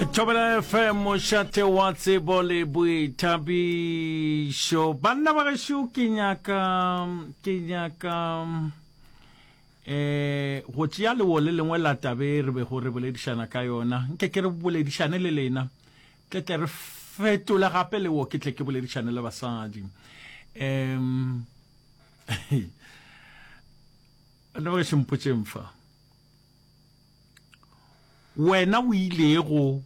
Thobela FM mošate wa tsebo le boithabišo. Banna ba gešo ke nyaka ke nyaka eh go tšea lewo le lengwe la tabe re bego re boledišana ka yona. Nke ke re boledišane le lena. Tle tle re fetole gape lewo ke tle ke boledišane le basadi. Em Banna ba gešo mpotšeng fa. Wena o ilego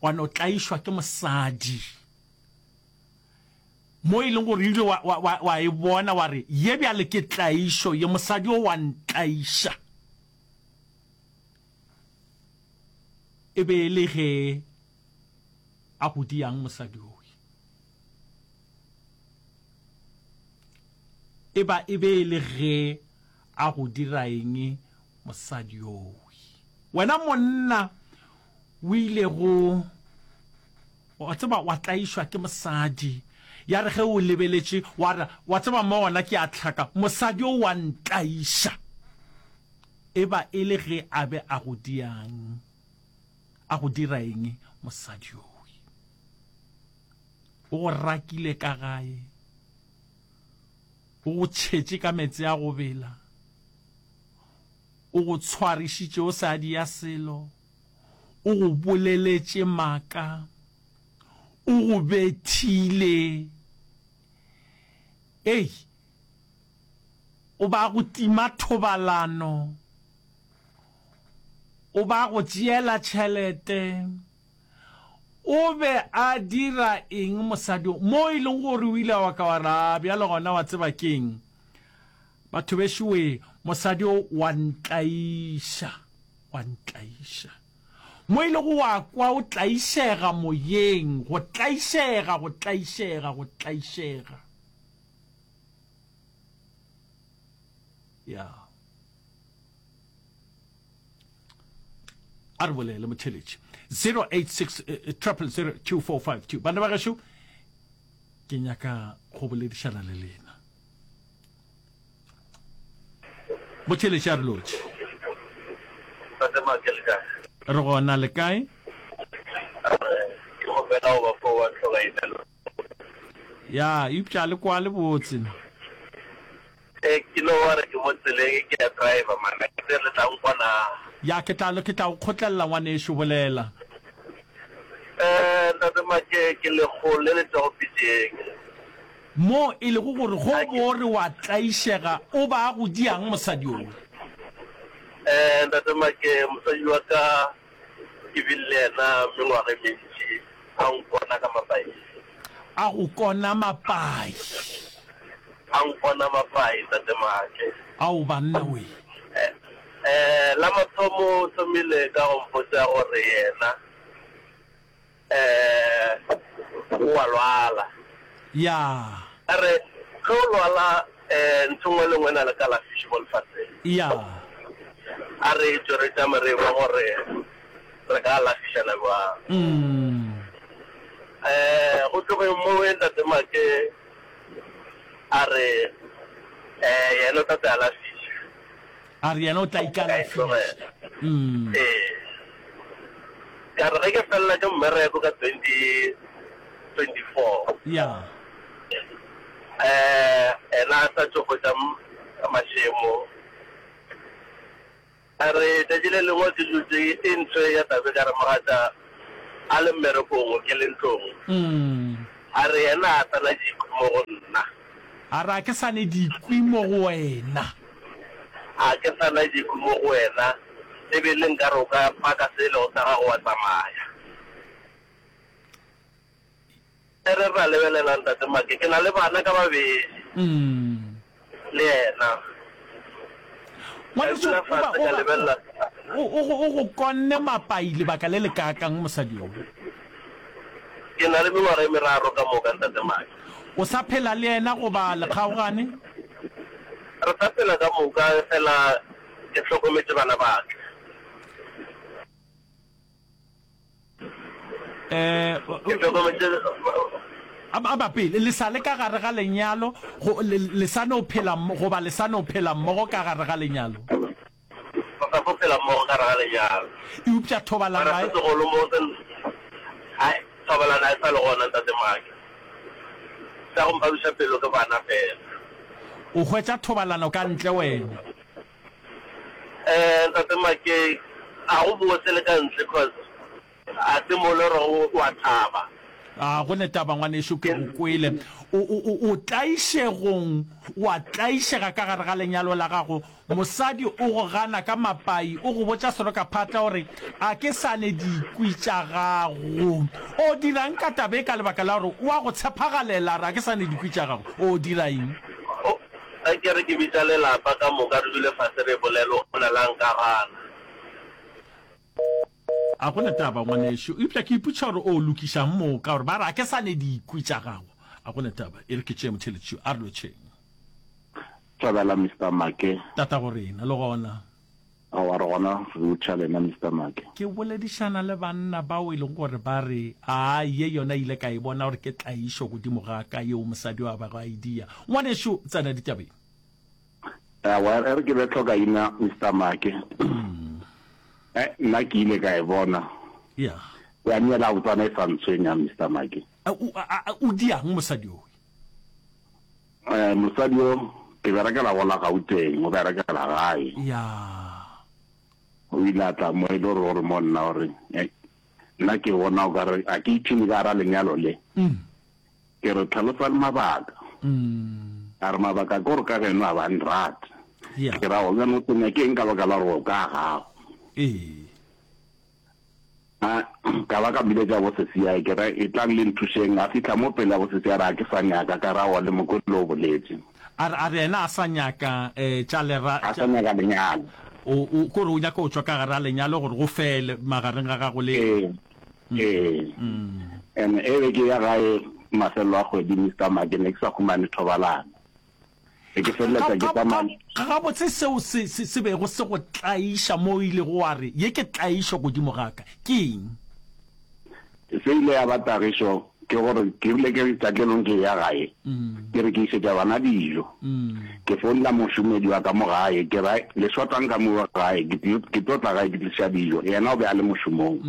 wa no tlaišwa ke mosadi mo e leng gore o ile wa, wa, wa, wa e bona wa re, Ye bjale ke tlaišo ye, mosadi o wa ntlaiša. E be e le ge a go diang mosadi owe. E ba e be e le ge a go dira eng mosadi yowe? Wena monna o ilego wa tseba wa tlaišwa ke mosadi, ya re ge o lebeletše wa re, wa tseba mo gona ke a hlaka, mosadi yo wa ntlaiša. E ba e le ge a be a go diang, a go dira eng mosadi yowe? O go rakile ka gae. O go tšhetše ka meetse a go bela, o go tshwarišitše o sa dia selo, o go boleletše maaka, o go bethile. Ei, o ba go tima thobalano, o ba go tšeela tšhelete. O be a dira eng mosadi yo? Mo e leng gore o ile wa ka wa re, A bjale gona wa tseba ke'ng? Batho bešo wee, mosadi yo wa ntlaiša, wa ntlaiša. Mo e lego wa kwa o tlaišega moyeng, go tlaišega, go tlaišega, go tlaišega. Ya. A re bolele motheletši 086 000 2452 bana ba gešo ke nyaka go boledišana le lena motheletši a re lotše Ntate Make le kae? Re gona le kae? Ke kgopela go ba fo wa hloka email. Ya, eupša le kwa le botse. Eh, ke no wa re ke mo tseleng ke ya driver man, a ke le tla nkwa na? Ya, ke tla ke tla go kgotlelela ngwanešu, bolela. Eh, ntate Make, ke lekgolo le le tšwago pitšeng. Mo e lego gore go bo re wa tlaišega, o ba a go diang mosadi yoo? Eh, ntate Make, mosadi wa ka Ke bile le yena mengwaga e mentši a nkona ka mapai. A go kona mapai. A nkona mapai, Tate Maake. Ao banna we. Eh, eh, la mathomo o thomile ka go mpotša gore yena eh o a lwala. Ya. A re, Ge o lwala, eh, ntho nngwe le nngwe e na le kalafiši mo lefaseng. Ya. A re tšwe re tšame re ekwa gore re ka alafišana bjang. Mm. Eh, go tlogeng mowe Ntate Make a re, eh, yena o tla tla alafiša. A re yena o tla ikalafiša. Mm. Ee. Ka re ge ke felela ke mmereko ka 2024. Ya. Eh, ena a sa tšo hwetša mašemo. A re tšatši le lengwe ke dutše e ntho ya tabe ka re mogatša a le mmerekong ke le ntlong. Mm. A re yena a sa na dikwi mo go nna. A re a ke sa ne dikwi mo go wena. A ke sa na dikwi mo go wena, e be le nkare o ka paka se e lego sa gago wa tsamaya. E re ra lebelela Ntate Make, ke na le bana ka babedi le yena. Ka Ngwaneso, dula o ba, fase o ka ba, lebelela. o, o, o, o go konne mapai lebaka le le kaakang mosadi yo? Ke na le mengwaga e meraro ka moka Ntate Make. O sa phela le yena goba le kgaogane? Re sa phela ka moka, efela ke hlokometše bana ba ka. Eh, Ke hlokometše a a ba pele le sa le ka gare ga lenyalo go le, le sa no phela goba le sa no phela mmogo ka gare ga lenyalo? sa fo phela mmogo ka gare ga lenyalo. Eupša thobalano Mara ga se e. segolo mo se, hai, thobalano ga e sa le gona, Ntate Make. Sa go mpabiša pelo ke bana fela. O hwetša thobalano ka ntle wena? Eh, Ntate Make, ga go bose le ka ntle cause A se mo le rego o a thaba. A go ne taba, ngwanešu, ke go kwele. O, o, o, o tlaišegong, o a tlaišega ka gare ga lenyalo la gago. Mosadi o go gana ka mapai, o go botša serokaphatla o re, A ke sa ne dikwi tša gago. O dira'ng ka taba e ka lebaka la gore o a go tshephagalela, a re, A ke sa ne dikwi tša gago? O dira eng? O, ge ke re ke bitša lelapa ka moka re dule fase re bolele, o na la nka gana. A go na taba, ngwanešu. Eupša ke ipotšiša gore o lokišang moo, ka gore ba re a ke sa ne dikwi tša gago. A go na taba. E re ke tšee motheeletši yo. A re lotšheng. Thobela, Mister Make. Tatago rena, le gona. Aowa, re gona re lotšha lena, Mister Make. Ke boledišana le banna bao e lego gore ba re, Aa, ye yona ile ka e bona gore ke tlaišo godimo ga ka yeo mosadi yo a bego a e dia. Ngwanešu, tsena ditabeng. Aowa, e re ke be tlhokaina, Mister Make. Eh, nna ke ile ka e bona. Yeah. Ya nne la botswana e sa ntshwenya, Mister Make. A, o, a, a, o diang mosadi yowe? Eh, mosadi yo, ke berekela go la Gauteng, o berekela gae. Yeah. O ile a tla mo e le gore gore mo nna gore, eh, nna ke bona o ka re a ke ipshine ka gara lenyalo le. Mm. Ke re tlhalosa le mabaka. A re mabaka ke gore ka geno a ba nrate. Yeah. Ke ra go bjana o tenya ke eng ka baka la gore o ka gago. Ee. A ka ba ka biletša bo sesi yae ke re etlang le nthušeng. A fihla mo pele ya bo sesi a re a ke sa nyaka ka ra wa le mokwele o boletše. A re a re yena a sa nyaka eh tša lera A sa nyaka lenyalo. O o kore o nyaka go tšwa ka gare ga lenyalo gore go fele magareng ga gago le Ee. Ee. And e be ke ya gae mafelelo a kgwedi Mister Make ne ke sa humane thobalano. Be ke feleletša ke tsamaya. Gabotse seo se, se, se bego se go tlaiša mo o ilego wa re, Ye ke tlaišo godimo ga ka, ke eng? Se ile ya ba tagišo ke gore ke rile ke tšatši le lengwe ke eya gae, ke re ke išetša bana dijo. Ke founela mošomedi wa ka mo gae, ke ra, Le shotang ka mo gae, ke tlo, ke tlo tla gae ke tliša dijo. Yena o be a le mošomong.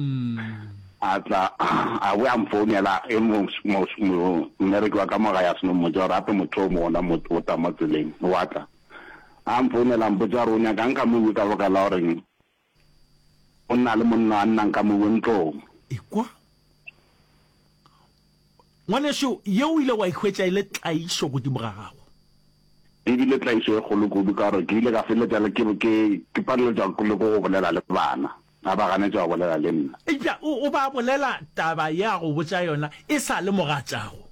A tla, a boya a mfounela, e mo, mo, mo, mmereki wa ka mo gae a seno mmotša gore gape motho o mo gona mo, o tla mo tseleng, wa tla. A mfounela a mpotša gore o nyakang ka mowe ka baka la goreng o na le monna a nnang ka mowe ntlong. Ekwa. Ngwanešu, ye o ile wa e hwetša e le tlaišo godimo ga gago. E bile tlaišo e kgolo kudu ka gore ke ile ka feleletša le ke, ke, ke paleletšwa le ke go bolela le bana. Ba ba ganetša go bolela le nna. Eupša o, o ba bolela taba ye a go botša yona e sa le mogatšago.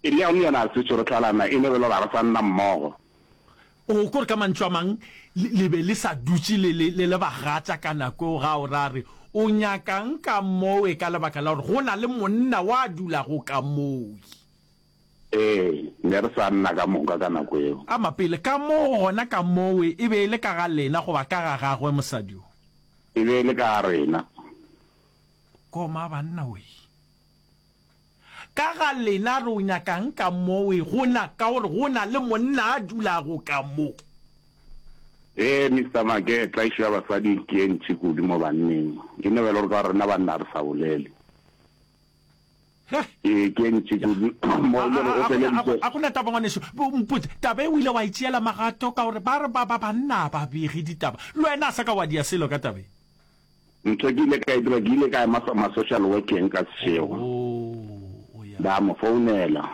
E le yona yona re sešo re hlalana, e no be le gore ga re sa nna mmogo. O ko re ka mantšu a mang, le, le be le sa dutše le le, le le bagatša ka nako eo ga o ra re, O nyakang ka mowe ka lebaka la gore go na le monna wa dulago ka mowe. Ee, ne re sa nna ka moka ka nako eo. Ama pele, ka moo gona ka mowe e be e le ka ga lena goba ka ga gagwe mosadi yo? E be e le ka ga rena. Koma banna wee. Ka ga lena re o nyakang ka mowe go na, ka gore go na le monna a dulago ka mo. Ee, Mister Make, tlaišo ya basadi ke ye ntši kudu mo banneng. E no ba e le gore ka gore rena banna ga re sa bolele. Ee, ke ye ntši kudu mo e le gore o feleditše. A go na taba ngwanešu, mpotše, taba e o ile wa e tšeela magato ka gore ba re ba, ba banna ga ba bege ditaba. Le wena a sa ka wa dia selo ka taba e. Ntho ke ile ka e dira, ke ile ka ema ma-social workeng ka sešego, ba mo founela.